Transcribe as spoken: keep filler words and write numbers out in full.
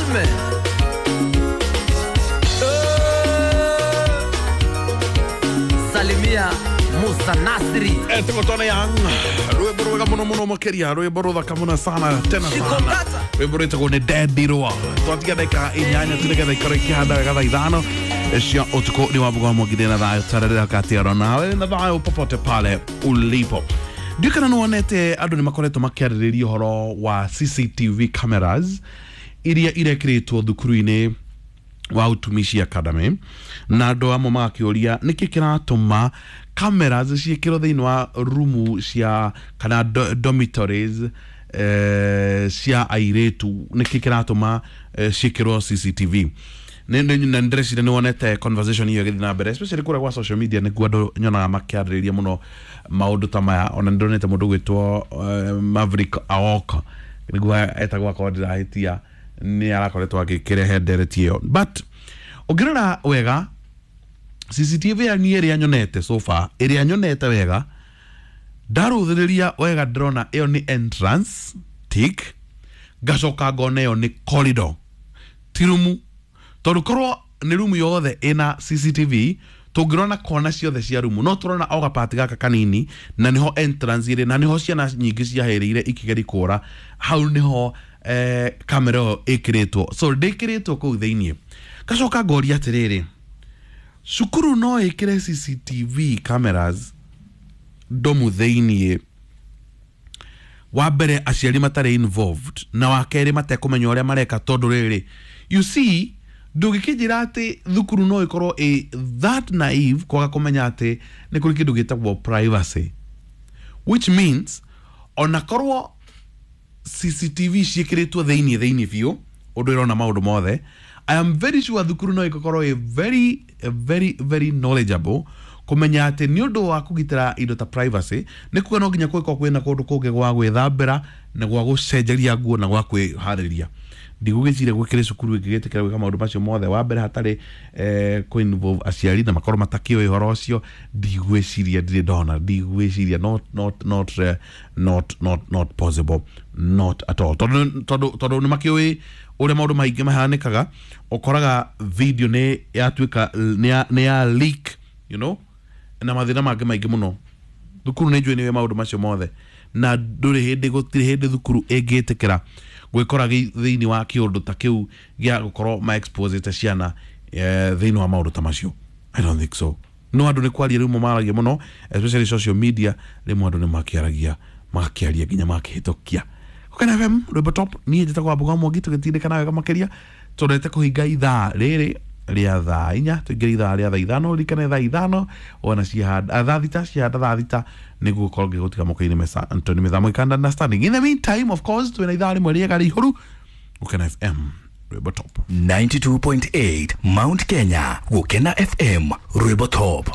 Mfalme. Salimia Musa Nasri. Etagwo Tony Young, rwĩmbo rwega mũno mũno makĩria, rwĩmbo rũthaka mũno sana tena sana, rwĩmbo rwĩtagwo nĩ Ndendirwo. Twatiga ndagĩka inyanya tu nĩgetha ikorwo ikĩhanda wega thaa ithano cia ũtukũ. Nĩ Wambugu wa Mwangi na thayũ tarĩrĩra katiaro nawe na thayũ popote pale ulipo. Ndiũĩ kana nĩwonete andũ nĩ makoretwo makĩarĩrĩria ũhoro wa C C T V cameras iria irekĩrĩtwo thukuru-inĩ wa Utumishi Academy, na andũ amwe magakĩũria nĩkĩ kĩratũma cameras ciĩkĩrwo thĩinĩ wa rumu cia kana do, dormitories eh, cia airĩtu, nĩkĩ kĩratũma eh, ciĩkĩrwo C C T V. Nĩ- nĩ- na ndĩreciria nĩ wonete conversation iyo ĩgĩthiĩ na mbere, especially kũrĩa gwa social media nĩkuo andũ nyonaga makĩarĩrĩria mũno maũndũ ta maya. Ona nĩ ndonete mũndũ gwĩtwo uh, Maverick Aoka, nĩguo etagwo akorwo ndĩrahĩtia, nĩ arakoretwo agĩkĩrehe ndereti ĩyo. But ũngĩrora wega C C T V ya niĩ ĩrĩa nyonete so far, ĩrĩa nyonete wega, ndarũthĩrĩria wega, ndĩrona ĩyo nĩ entrance tick, ngacoka ngona ĩyo nĩ corridor, ti rumu, tondũ korwo nĩ rumu yothe ĩna C C T V tũngĩrona kona ciothe cia rumu, no tũrona o gapati gaka kanini na nĩho entrance ĩrĩ na nĩho ciana nyingĩ ciahĩrĩire ikĩgeria kũra hau, nĩho eh, kamera ĩyo ĩkĩrĩtwo, so ndĩkĩrĩtwo kũu thĩiniĩ. Ngacoka ngoria atĩrĩrĩ, cukuru no ĩkĩre C C T V cameras ndomu thĩiniĩ, wa mbere aciari matarĩ involved, na wa kerĩ matekũmenya ũrĩa mareka? Tondũ rĩrĩ, you see, ndũngĩkĩnjĩra atĩ thukuru no ĩkorwo ĩ that naive kwaga kũmenya atĩ nĩ kũrĩ kĩndũ gĩtagwo privacy, which means ona korwo C C T V ciĩkĩrĩtwo thĩiniĩ thĩiniĩ biũ ũndũ ĩrona maũndũ mothe, I am very sure thukuru no ĩgũkorwo ĩ very very very knowledgeable kũmenya atĩ nĩ ũndũ wa kũgitĩra indo ta privacy, nĩ kuga no nginya kũngĩkorwo kwĩna kũndũ kũngĩ gwa gwĩthambĩra na gwa gũcenjeria nguo na gwa kwĩharĩria. Ndigũgĩciria gwĩkĩrĩ cukuru ĩngĩgĩtĩkĩra gwĩka maũndũ macio mothe, wa mbere hatarĩ eh, kũ involve aciari na makorwo matakĩũĩ ũhoro ũcio. Ndigwĩciria, ndirĩ ndona, ndigwĩciria, not not not uh, not not not possible, not at all, tondũ tondũ tondũ nĩ makĩũĩ ũrĩa maũndũ maingĩ mahanĩkaga. Ũkoraga video nĩ yatuĩka nĩ ya, nĩ ya leak you know na mathĩna mangĩ maingĩ mũno. Thukuru nĩ njũĩ nĩwe maũndũ macio mothe, na ndũrĩ hĩndĩ, gũtirĩ hĩndĩ thukuru ĩngĩtĩkĩra gwĩkora gĩ- thĩinĩ wa kĩũndũ ta kĩu gĩa gũkorwo ma exposite ciana eh, thĩinĩ wa maũndũ ta macio. I don't think so. No andũ nĩ kwaria rĩmwe maragia mũno, especially social media, rĩmwe andũ nĩ makĩaragia, magakĩaria nginya makĩhĩtũkia. Gũkena F M, rwĩmbo top. Niĩ njĩtagwo Wambugu wa Mwangi, tũgĩtindĩkana wega makĩria tũrete kũhinga ithaa rĩrĩ rĩa thaa inya, tũingĩre ithaa rĩa thaa ithano. Ririkane thaa ithano wona ciahanda, thaa thita ciahanda, thaa thita nĩguo gũkorwo ngĩgũtiga moko-inĩ mesa Antony Mĩthamo ikanda understanding. In the meantime, of course, twĩna ithaa rĩmwe rĩega rĩihũru. Gũkena F M, rwĩmbo top. ninety-two point eight Mount Kenya, Gukena F M, Rwimbo Top.